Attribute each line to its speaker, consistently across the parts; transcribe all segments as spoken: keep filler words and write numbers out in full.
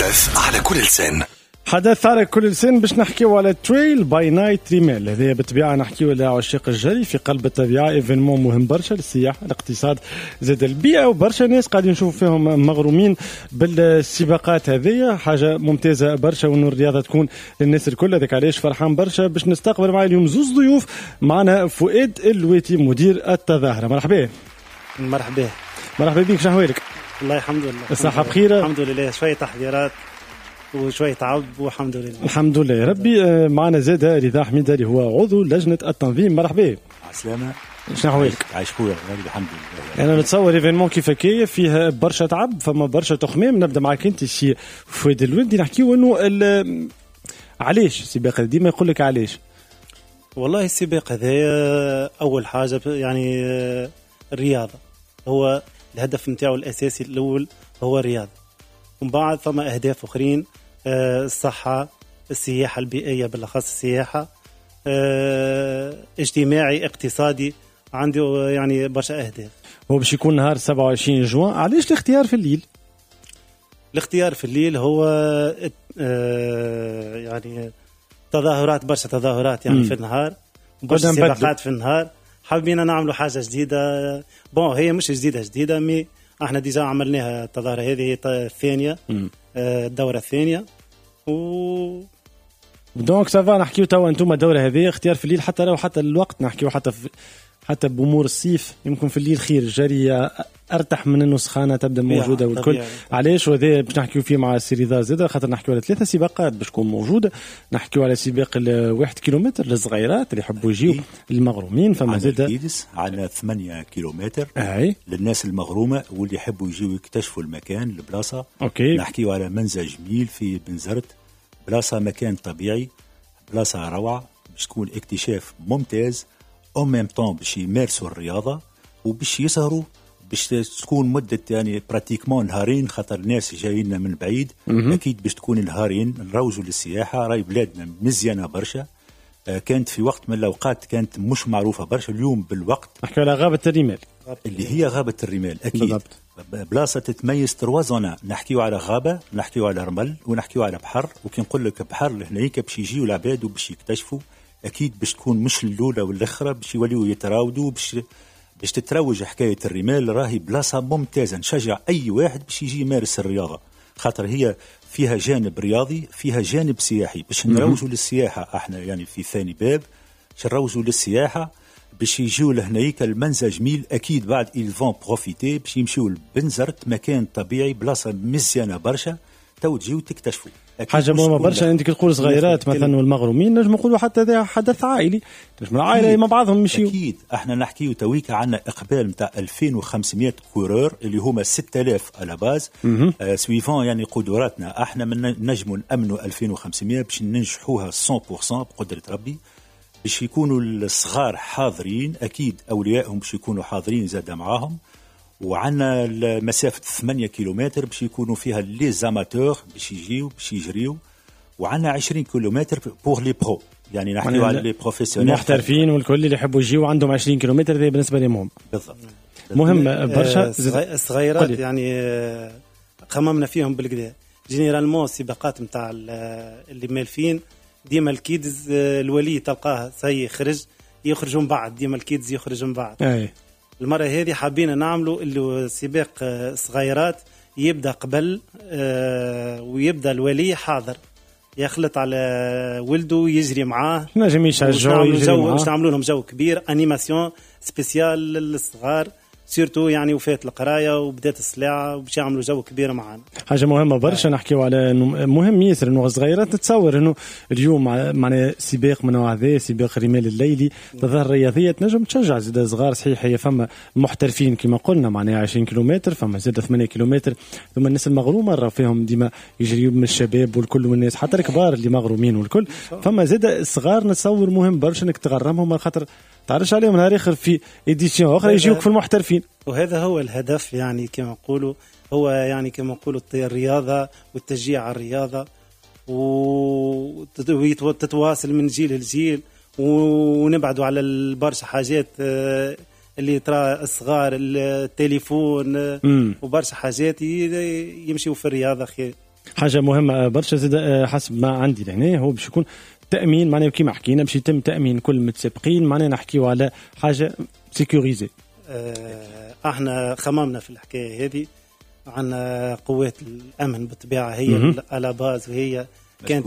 Speaker 1: حدث على كل لسان.
Speaker 2: حدث على كل لسان باش نحكيو على Trail by Night رمال. هذه بالطبيعة نحكيو على عشاق الجري في قلب الطبيعه، événement مهم برشا للسياحه، الاقتصاد، زاد البيئه، وبرشا ناس قاعدين نشوف فيهم مغرومين بالسباقات هذه. حاجة ممتازة برشا وانه الرياضة تكون للناس الكل. هذاك علاش فرحان برشا باش نستقبل معي اليوم زوز ضيوف. معنا فؤاد اللويتي مدير التظاهره، مرحبا.
Speaker 3: مرحبا.
Speaker 2: مرحبا بك، شنو احوالك؟
Speaker 3: والله الحمد لله.
Speaker 2: الصحة بخير؟
Speaker 3: الحمد لله، شوية تحضيرات وشوية تعب والحمد لله.
Speaker 2: الحمد لله يا ربي. آه، معنا زاد رضا حميدة اللي هو عضو لجنة التنظيم، مرحبا.
Speaker 4: عسلامة.
Speaker 2: شنو احوالك؟
Speaker 4: عايش خويا، الحمد لله.
Speaker 2: انا نتصور événement كيف هكايا فيه برشا تعب، فما برشا تخمام. نبدا معك انت سي فؤاد اللويتي، نحكيو انه علاش السباق؟ ديما يقول لك علاش؟
Speaker 3: والله السباق هذا اول حاجة يعني الرياضه، هو الهدف نتاعو الاساسي الاول هو الرياضه، ومن بعد فما اهداف اخرين، آه، الصحه، السياحة البيئيه، بالاخص السياحه، آه، اجتماعي، اقتصادي، عنده يعني برشا اهداف.
Speaker 2: هو باش يكون نهار سبعة وعشرين جوان. علاش الاختيار في الليل؟
Speaker 3: الاختيار في الليل هو آه، يعني تظاهرات، برشا تظاهرات يعني مم. في النهار، برشا سباقات في النهار. حابين نعملوا حاجة جديده. bon، هي مش جديدة جديده، mais احنا déjà عملناها التظاهرة هذه، هي الثانيه، آه، الدورة الثانية و
Speaker 2: donc ça va. نحكيو توا انتم الدورة هذه اختيار في الليل، حتى لو حتى الوقت نحكيو حتى في حتى بامور الصيف يمكن في الليل خير، الجري ارتاح من انه سخانه تبدا موجودة والكل. علاش؟ وهذا باش نحكيو فيه مع سي رضا زاد، خاطر نحكيو على ثلاثة سباقات باش تكون موجوده. نحكيو على سباق الواحد كيلومتر للصغيرات اللي يحبوا يجيو المغرومين، فما زاد
Speaker 4: kids على ثمانية كيلومتر. اي للناس المغرومه واللي يحبوا يجيو يكتشفوا المكان، البلاصه.
Speaker 2: OK
Speaker 4: نحكيو على منزه جميل في بنزرت، بلاصة مكان طبيعي، بلاصة روعه، باش تكون اكتشاف ممتاز، en même temps باش يمارسوا الرياضة وباش يسهروا، باش تكون مده يعني pratiquement نهارين، خاطر الناس جايين من بعيد. اكيد باش تكون نهارين نروجوا للسياحه. راي بلادنا مزيانه برشا، آه، كانت في وقت من الاوقات كانت مش معروفة برشا، اليوم بالوقت.
Speaker 2: نحكي على غابه الرمال.
Speaker 4: اللي هي غابه الرمال اكيد. بالضبط. بلاصة تتميز trois zones، نحكيو على غابه، نحكيو على رمل، ونحكيو على بحر. وكي نقول لك بحر هناك باش يجيو العباد وباش يكتشفوا، اكيد باش تكون مش الاولى والاخرى، باش يوليو يتراودوا، باش باش تتروج حكاية الرمال. راهي بلاصة ممتازه، نشجع اي واحد باش يجي يمارس الرياضه، خاطر هي فيها جانب رياضي، فيها جانب سياحي، باش نروجوا للسياحة احنا يعني في ثاني باب باش نروجوا للسياحه، باش يجيو لهنايك المنزه جميل. اكيد بعد ils vont profiter باش يمشيو لبنزرت، مكان طبيعي، بلاصة مزيانه برشا، تو تجيو تكتشفوا.
Speaker 2: حاجة مهمة برشا، انت تقول صغيرات مثلا والمغرومين، نجم نقولوا حتى هذا حدث عائلي، نجم العائلة مع بعضهم يمشيو.
Speaker 4: اكيد، احنا نحكيو تويكا عندنا اقبال نتاع ألفين وخمسمية coureurs اللي هما ستة آلاف à la base، آه suivant يعني قدراتنا احنا من نجموا نامنوا ألفين وخمسمية باش ننجحوها مية في المية بقدره ربي. باش يكونوا الصغار حاضرين، اكيد اوليائهم باش يكونوا حاضرين زاد معاهم. وعندنا مسافة ثمانية كيلومتر باش يكونوا فيها les amateurs باش يجيو باش يجريو، وعندنا عشرين كيلومتر pour les pros، يعني نحكيو على les professionnels.
Speaker 2: المحترفين والكل اللي يحبوا يجيو عندهم عشرين كيلومتر، هذا بالنسبة لهم.
Speaker 4: بالضبط.
Speaker 2: مهم برشا.
Speaker 3: الصغيرات يعني آه، خممنا فيهم بالقدا. généralement السباقات نتاع اللي مالفين ديما ال kids، آه، الولي تلقاه سي خرج، يخرجوا من بعد، ديما ال kids يخرج من بعد.
Speaker 2: أي.
Speaker 3: المرة هذه حابين نعملوا اللي سباق آه، صغيرات يبدا قبل، آه، ويبدا الولي حاضر، يخلط على ولده، يجري معاه.
Speaker 2: نجم يشجعوا.
Speaker 3: يجري معاه، باش نعملوا لهم جو كبير، animation spéciale للصغار، surtout يعني وفات القراية وبدات السلاعه، وباش يعملوا جو كبير معنا.
Speaker 2: حاجة مهمة برشا، نحكيو على انه مهم ياسر انه الصغيرات، تتصور انه اليوم معناها سباق من نوع هذا، سباق رمال الليلي، تظاهرة رياضية تنجم تشجع زاد صغار. صحيح هي فما محترفين كما قلنا معناها عشرين كيلومتر، فما زاد ثمانية كيلومتر، ثم الناس المغرومه راه فيهم ديما يجريوا من الشباب والكل والناس حتى الكبار اللي مغرومين والكل. فما زاد الصغار نتصور مهم برشا انك تغرمهم، خاطر تعرفش عليهم نهار اخر في édition اخرى يجيوك في المحترفين.
Speaker 3: وهذا هو الهدف، يعني كما نقولوا هو يعني كما نقولوا الرياضة والتشجيع على الرياضة وتتواصل من جيل لجيل، ونبعدوا على برشا حاجات آه، اللي ترى الصغار، التليفون آه، وبرشا حاجات، يمشيوا في الرياضة خير.
Speaker 2: حاجة مهمة برشا زاد حسب ما عندي لهنا هو باش يكون تامين، معناها كيما حكينا باش يتم تامين كل المتسابقين، معناها نحكيو على حاجة sécurisée.
Speaker 3: احنا خممنا في الحكاية هذه، عندنا قوات الامن بالطبيعة هي à la base، وهي كانت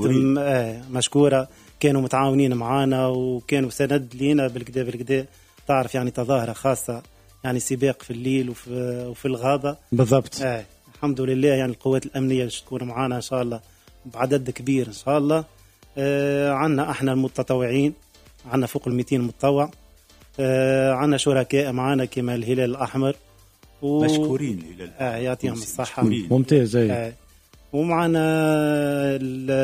Speaker 3: مشكورة، كانوا متعاونين معانا وكانوا سند لينا بالكدا بالكدا. تعرف يعني تظاهرة خاصة يعني سباق في الليل وفي, وفي الغابة
Speaker 2: بالضبط.
Speaker 3: آه. الحمد لله يعني القوات الامنية تكون معانا ان شاء الله بعدد كبير ان شاء الله. آه عندنا احنا المتطوعين، عندنا فوق المئتين متطوع، آه عندنا شركاء معانا كما الهلال الاحمر
Speaker 4: و... مشكورين الهلال
Speaker 3: آه يعطيهم الصحة،
Speaker 2: ممتاز. آه.
Speaker 3: ومعنا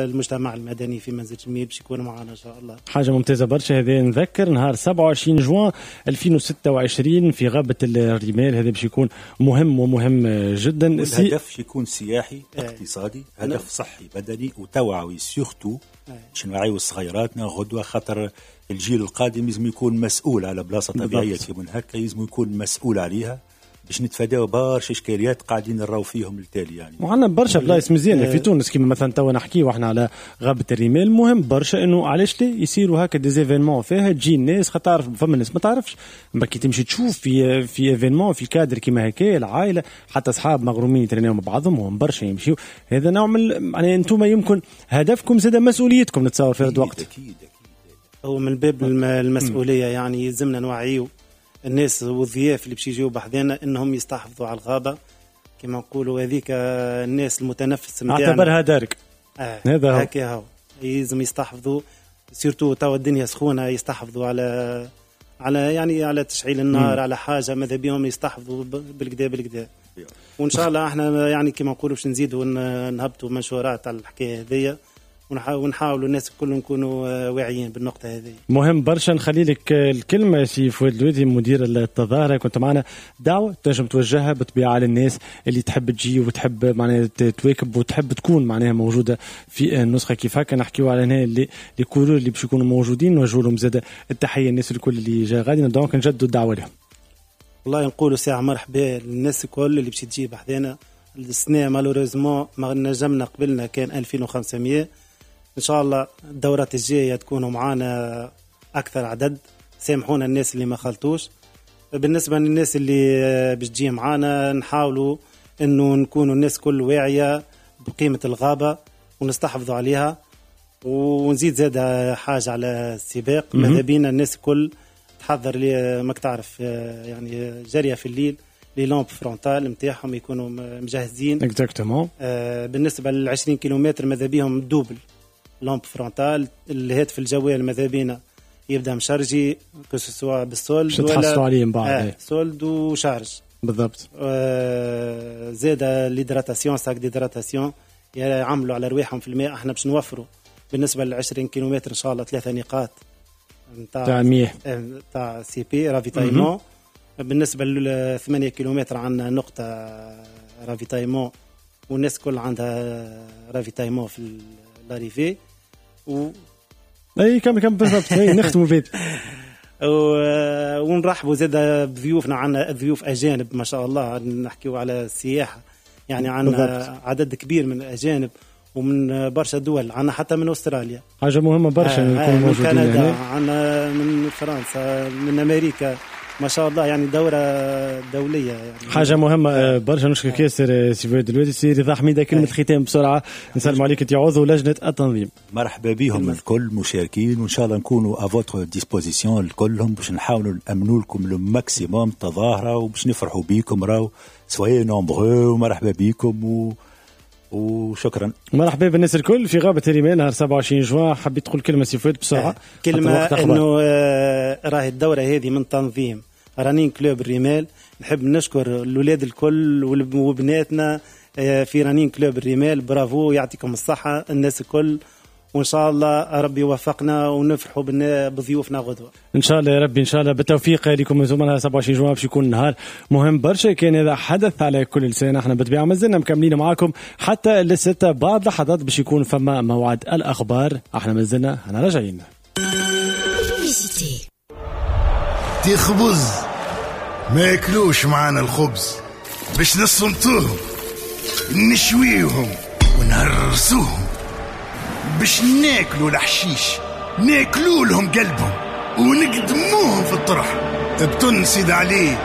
Speaker 3: المجتمع المدني في منزل جميل باش يكون معنا ان شاء الله.
Speaker 2: حاجة ممتازة برشا. هذا نذكر نهار سبعة وعشرين جوان ألفين وستة وعشرين في غابه الرمال، هذا باش يكون مهم ومهم جدا.
Speaker 4: الهدف باش يكون سياحي اقتصادي، هدف صحي بدني وتوعوي، surtout باش نوعيو صغيراتنا غدوه، خاطر الجيل القادم لازم يكون مسؤول على بلاصة طبيعية كيما هكا، لازم يكون مسؤول عليها باش نتفاداو برشا اشكاليات قاعدين نراو فيهم التالي يعني.
Speaker 2: وعندنا برشا بلايص مزيانه في تونس كيما مثلا توا نحكيو احنا على غابه الرمال. مهم برشا انه علاش لي يصيروا هكا des événements فيها تجي الناس، خاطر تعرف فما ناس ما تعرفش، ما كي تمشي تشوف في في événement في كادر كيما هكا العائلة حتى اصحاب مغرومين يترينيو مع بعضهم وهم برشا يمشيو. هذا نوع من يعني انتم يمكن هدفكم زاد مسؤوليتكم نتصور في هذا الوقت.
Speaker 4: اكيد اكيد
Speaker 3: هو من باب المسؤولية يعني يلزمنا نوعيو الناس والضياف اللي باش يجيو بحذانا انهم يستحفظوا على الغابة كما نقولوا، هذيك الناس المتنفس نتاعنا
Speaker 2: اعتبرها دارك.
Speaker 3: آه. هذا هو هكا هو يلزم يستحفظوا، surtout توا الدنيا سخونة، يستحفظوا على على يعني على تشعيل النار، مم. على حاجة ماذا بيهم يستحفظوا بالكدا بالكدا. وان شاء الله احنا يعني كما نقولوا باش نزيدوا نهبطوا منشورات على الحكاية هذيا ونحاولوا الناس الكل نكونوا واعيين بالنقطة هذه.
Speaker 2: مهم برشا. نخلي لك الكلمة سي فؤاد الوادي مدير التظاهرة، كنت معنا دعوة تنجم توجهها بالطبيعة للناس اللي تحب تجي وتحب معناها تواكب وتحب تكون معناها موجودة في النسخة كيف هكا. نحكيو على هنا اللي les coureurs اللي باش يكونوا موجودين، نوجهوا لهم زاد التحية الناس الكل اللي جا غادي، donc نجدوا الدعوة لهم.
Speaker 3: والله نقولوا ساعة مرحبا للناس الكل اللي باش تجي بحذانا. السنة malheureusement ما نجمنا قبلنا كان ألفين وخمسمية، إن شاء الله الدورات الجاية تكونوا معانا أكثر عدد. سامحونا الناس اللي ما خلطوش. بالنسبة للناس اللي باش تجي معانا نحاولوا إنه نكونوا الناس كل واعية بقيمة الغابة ونستحفظوا عليها. ونزيد زاد حاجة على السباق، ماذا بينا الناس كل تحضر لي ماك تعرف يعني جارية في الليل les lampes frontales نتاعهم يكونوا مجهزين.
Speaker 2: Exactement.
Speaker 3: بالنسبة للعشرين كيلومتر ماذا بيهم double lampe frontale. الهاتف الجوال ماذا بينا يبدا مشارجي que ce soit بال solde
Speaker 2: ولا تحصلوا عليه من بعد.
Speaker 3: آه solde و charge
Speaker 2: بالضبط.
Speaker 3: آه زاد l'hydratation، sac d'hydratation يعملوا على رواحهم في الماء. احنا باش نوفروا بالنسبة لل عشرين كيلومتر ان شاء الله ثلاثة نقاط نتاع
Speaker 2: مياه
Speaker 3: نتاع CP ravitaillement. بالنسبة لل ثمانية كيلومتر عندنا نقطة ravitaillement، والناس كل عندها ravitaillement في l'arrivée و
Speaker 2: اي كم كم بالضبط. اي نختموا بيت
Speaker 3: ونرحبوا زاد بضيوفنا. عندنا ضيوف اجانب ما شاء الله، نحكيو على السياحة يعني عندنا عدد كبير من الاجانب ومن برشا دول، عندنا حتى من استراليا.
Speaker 2: حاجة مهمة برشا آه نكونوا موجودين
Speaker 3: من كندا، عندنا من فرنسا، من امريكا، ما شاء الله يعني دورة دولية يعني.
Speaker 2: حاجة مهمة برشا. نشكرك ياسر سي فؤاد الوادي. سي رضا حميدة كلمة ختام بسرعة، نسلم عليك انت عضو لجنة التنظيم.
Speaker 4: مرحبا بهم الكل مشاركين، وإن شاء الله نكونوا à votre disposition الكلهم باش نحاولوا نأمنوا لكم le maximum تظاهرة وباش نفرحوا بيكم. راهو soyez nombreux ومرحبا بيكم و وشكرا.
Speaker 2: مرحبا بالناس الكل في غابة الرمال نهار سبعة وعشرين جوان. حبيت تقول كلمة سي فؤاد بسرعة؟
Speaker 3: كلمة انه راهي الدورة هذه من تنظيم Running Club الرمال. نحب نشكر الأولاد الكل وبناتنا في Running Club الرمال، برافو، يعطيكم الصحة الناس الكل، وإن شاء الله ربي يوفقنا ونفرحوا بضيوفنا غدوة
Speaker 2: إن شاء الله يا ربي. إن شاء الله بالتوفيق لكم زملاء. سبعة وعشرين جوان باش يكون نهار مهم برشا، كان هذا حدث على كل لسان. احنا بالطبيعة مازلنا مكملين معاكم حتى للستة بعد لحظات باش يكون فما موعد الأخبار. احنا مازلنا احنا راجعين.
Speaker 1: تخبز ما ياكلوش معانا الخبز باش نصمتوهم نشويهم ونهرسوهم، باش ناكلوا الحشيش، ناكلوا لهم قلبهم ونقدموهم في الطرح. بتن سيد علي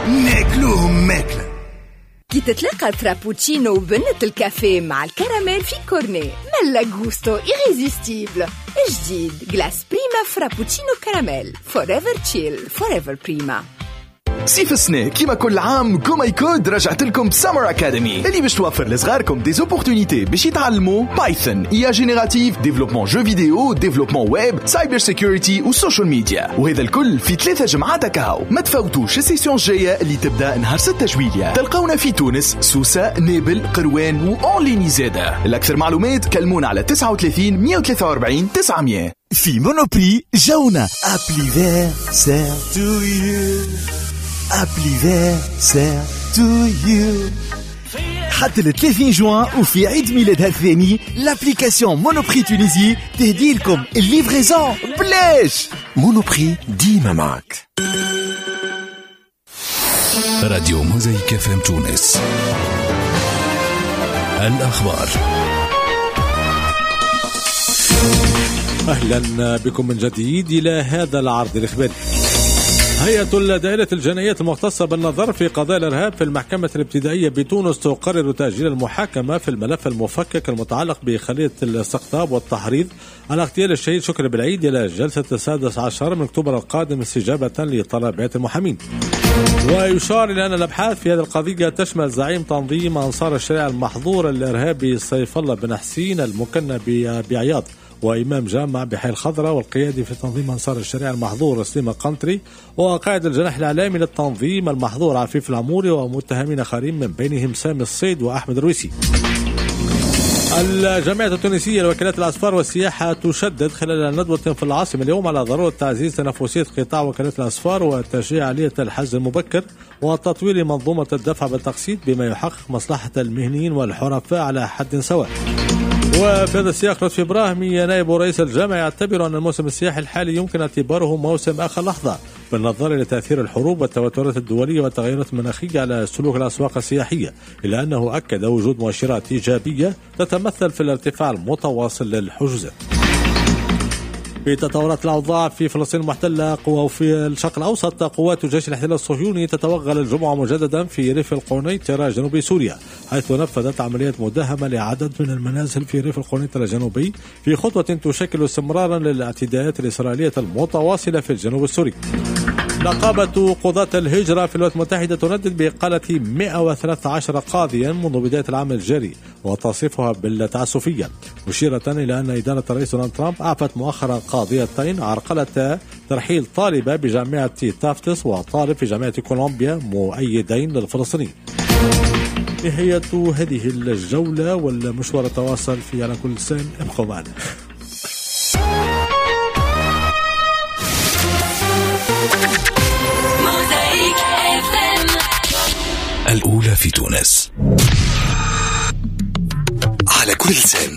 Speaker 1: ناكلوهم ماكلة.
Speaker 5: كي تتلاقى frappuccino وبنة الكافيه مع الكراميل في cornet، ملا gusto irrésistible. جديد glace بريما frappuccino caramel، forever chill forever بريما.
Speaker 6: صيف السنة كيما كل عام GoMyCode رجعت لكم ب Summer Academy اللي باش توفر لصغاركم des opportunités باش يتعلموا Python، IA générative، développement jeux vidéo، développement web، cyber security و social media، وهذا الكل في ثلاثة جمعات كهو. ما تفوتوش ال session الجاية اللي تبدا نهار ستة جويلية. تلقونا في تونس، سوسة، نابل، قروان و en ligne زادة. الأكثر معلومات كلمونا على تسعة وثلاثين مية وثلاثة وأربعين تسعمية.
Speaker 7: في Monoprix جونا anniversaire to you، anniversaire to you حتى ل ثلاثين جوان. وفي عيد ميلادها الثاني l'application Monoprix Tunisie تهدي لكم ال livraison بلاش.
Speaker 8: Monoprix ديما معك.
Speaker 9: راديو موزايك اف ام تونس، الأخبار.
Speaker 10: أهلا بكم من جديد إلى هذا العرض الإخباري. هيئة الدائرة الجنائية المختصة بالنظر في قضايا الإرهاب في المحكمة الابتدائية بتونس تقرر تأجيل المحاكمة في الملف المفكك المتعلق بخلية الاستقطاب والتحريض على اغتيال الشهيد شكري بالعيد إلى جلسة السادس عشر من أكتوبر القادم استجابة لطلبات المحامين. ويشار إلى أن الأبحاث في هذه القضية تشمل زعيم تنظيم أنصار الشريعة المحظور الإرهابي سيف الله بن حسين المكنى بعياض، وإمام جامع بحي الخضراء، والقيادي في تنظيم أنصار الشريعة المحظور سليم القنطري، وقائد الجناح الإعلامي للتنظيم المحظور عفيف العموري، ومتهمين آخرين من بينهم سامي الصيد وأحمد الرويسي. الجامعة التونسية لوكالات الأسفار والسياحة تشدد خلال ندوة في العاصمة اليوم على ضرورة تعزيز تنافسية قطاع وكالات الأسفار وتشجيع آلية الحجز المبكر وتطوير منظومة الدفع بالتقسيط بما يحقق مصلحة المهنيين والحرفاء على حد سواء. وفي هذا السياق لطفي إبراهيمي نائب رئيس الجامعة يعتبر أن الموسم السياحي الحالي يمكن اعتباره موسم آخر لحظة بالنظر إلى تأثير الحروب والتوترات الدولية والتغيرات المناخية على سلوك الأسواق السياحية، إلا أنه أكد وجود مؤشرات إيجابية تتمثل في الارتفاع المتواصل للحجوزات. في تطورات الأوضاع في فلسطين المحتلة وفي الشرق الأوسط، قوات جيش الاحتلال الصهيوني تتوغل الجمعة مجددا في ريف القنيطرة جنوب سوريا، حيث نفذت عملية مداهمة لعدد من المنازل في ريف القنيطرة الجنوبي في خطوة تشكل استمرارا للاعتداءات الإسرائيلية المتواصلة في الجنوب السوري. نقابة قضاة الهجرة في الولايات المتحدة تندد بإقالة مئة وثلاثة عشر قاضيا منذ بداية العام الجاري وتصفها بالتعسفية، مشيرة إلى أن إدارة الرئيس دونالد ترامب أعفت مؤخرا قاضيتين عرقلة ترحيل طالبة بجامعة تافتس وطالب في جامعة كولومبيا مؤيدين للفلسطينيين. نهاية هذه الجولة والمشوار تواصل في على كل لسان، ابقوا معنا.
Speaker 9: الأولى في تونس
Speaker 8: على كل لسان.